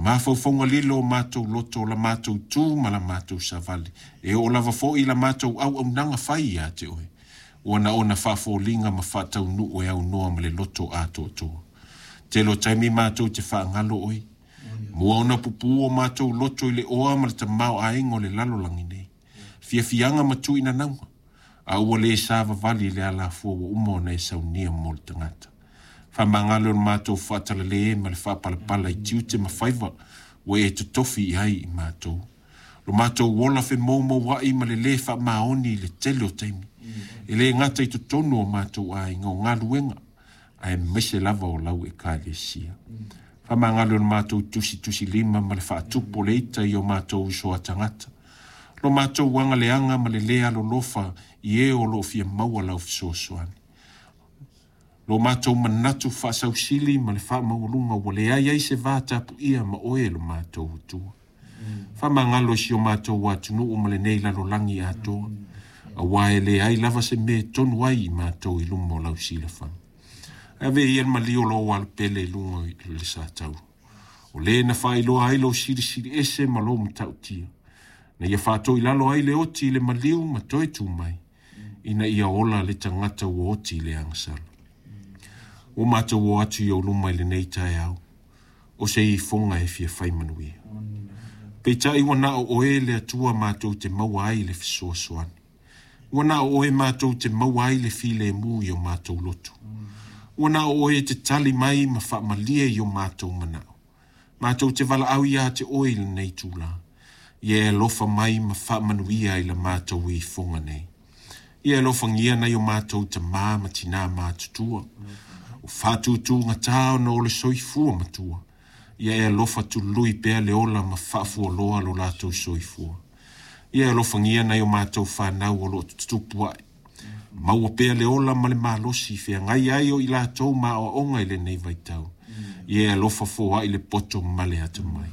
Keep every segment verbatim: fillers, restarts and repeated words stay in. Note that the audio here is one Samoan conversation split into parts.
Mafaufauga lilo o matou loto, o la matou tu ma la matou savali, e oo lava foi i la matou auaunaga fai ia te oe, ua naona faafoliga ma faataunuu e aunoa ma le loto atoatoa. Tele o taimi matou te faagalo oe, mua ona pupū o matou loto i le oa ma le tamaoaiga o le lalolagi nei, fiafiaga ma tuuinanauga, a ua le savavali i le alafua ua uma ona e saunia mo le tagata. Faamagalo le matou faatalale ma le faapalapala i tiute ma faiva ua e totofi i ai i matou. Lo matou ola femoumouai ma le lē faamaoni i le tele o taimi. E le gata i totonu o matou aiga o galuega, aemaise lava o lau ekalesia. Faamagalo le matou tusitusilima ma le faatupu o le ita i o matou uso a tagata. Lo matou agaleaga ma le lē alolofa i e o loo fia maua lau fesoasoani. Lo matou manatu faasausili ma le faamaualuga ua leai ai se va tapuia ma oe lo matou Atua. Faamagalo i si o matou atunuu ma lenei lalolagi atoa, aua e leai lava se mea e tonu ai i matou i luma o lau silafaga. Ave ia le maliu o lou alopele i luga o le satauro, o le na faailoa ai lou silisili ese ma lou matautia, na ia faatoilalo ai le oti i le maliu ma toe tu mai, ina ia ola le tagata ua oti i le agasala. Ua matou o atu i ou luma i lenei taeao, o se ifoga e fia fai manuia. Peitai ua na o oe le Atua matou te maua ai le fesoasoani. Ua na o oe matou te maua ai le filemu i o matou loto. Ua na o oe te tali mai ma faamalie i o matou manao. Matou te valaau ia te oe i lenei tula. Ia e alofa mai ma faamanuia i la matou ifoga nei. Ia e alofagia nai o matou tamā ma tinā matutua. O faatutugata ona o le soifua matua. Ia e alofa tului pea le ola ma faafualoa lo latou soifua. Ia e alofagia nai o matou fanau o loo tutupu ae. Maua pea le ola ma le malosi feagai ai o i latou ma aoaoga i lenei vaitau. Ia e alofa foai le poto ma le atamai.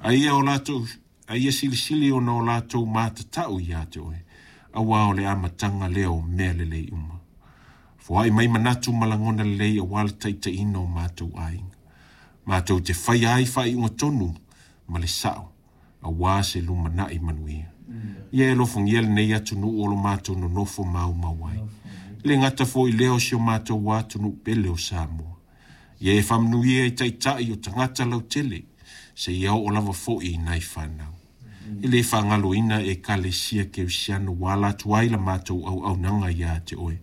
A ia o latou, a ia silisili ona o latou matatau ia te oe, aua o le amataga lea o mea lelei uma. Foai mai manatu ma lagona lelei aua le taitaiina o matou aiga. Matou te faia ai faaiuga tonu ma le sao, aua se lumanai manuia. Ia e alofagia lenei atunuu o lo matou nonofo maumau ai. Le gata foi lea o si o matou atunuu pele o Samoa. Ia e faamanuia i taitai o tagata lautele, seia oo lava foi i nai fanau. E le faagaloina ekalesia kerisiano ua ala atu ai la matou auaunaga ia te oe.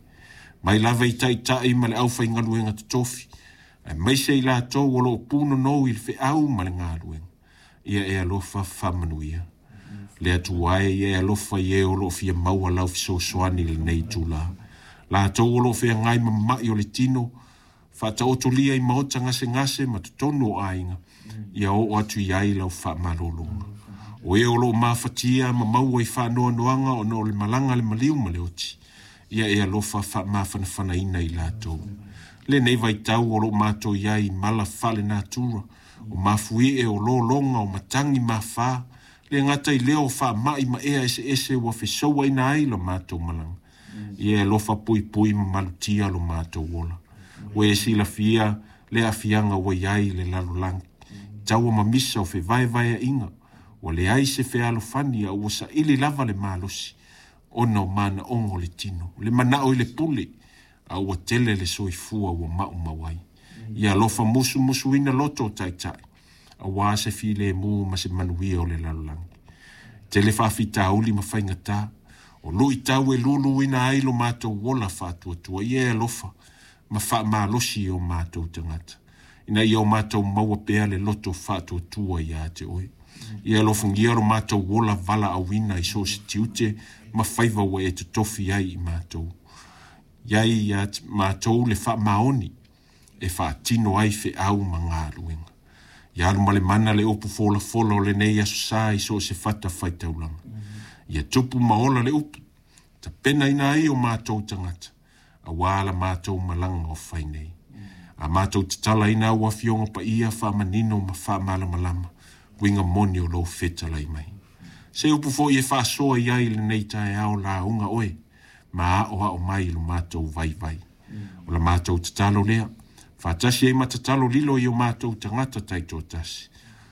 Mai lava i taitai ma le aufaigaluega totofi, aemaise i latou o loo punonou i le feau ma le galuega. Ia e alofa faamanuia. Le Atua e, ia e alofa i e o loo fia maua lau fesoasoani i lenei itulā. Latou o loo feagai ma ma'i o le tino, faataotolia i maota gasegase ma totonu o aiga, ia oo atu i ai lau faamalologa. O e o loo mafatia ma maua i faanoanoaga ona o le malaga le maliu ma le oti, ia e alofa faamafanafanaina i latou. Lenei vaitau o loo matou i ai i mala faalenatura, o mafuie, o lologa, o matagi mafā, le gata i lea o faamai ma ea eseese ua fesouaina ai lo matou malaga. Ia e alofa puipui ma malutia lo matou ola. Ua e silafia le aafiaga ua i ai le lalolagi, taua ma misa o fevaevaeaiga, ua leai se fealofani a ua saili lava le malosi ona o manaoga o le tino, le manao i le pule, a ua tele le soifua ua maumau ai. Ia alofa musumusuina loto o taitai, aua se filemu ma se manuia o le lalolagi. Tele faafitauli ma faigatā, o luitau e luluina ai lo matou ola faatuatua. Ia e alofa ma faamalosi i o matou tagata, ina ia o matou maua pea le loto faatuatua ia te oe. Ia alofagia lo matou ola valaauina i so o se tiute ma faiva ua e totofi ai i matou. Iai ia matou le faamaoni e faatino ai feau ma galuega. Ia alu ma le mana le upu folafola o lenei aso sa i so o se fata faitaulaga. Ia tupu ma ola le upu, tapenaina ai o matou tagata, aua la matou malaga o fai nei. A matou tatalaina au afioga paia faamanino ma faamalamalama, uiga moni o lou fetalai mai. Se upu foi e faasoa i ai lenei taeao lauga oe, ma aoao mai i lo matou vaivai. O la matou tatalo lea, faatasi ai ma tatalo lilo i o matou tagata taitoatasi.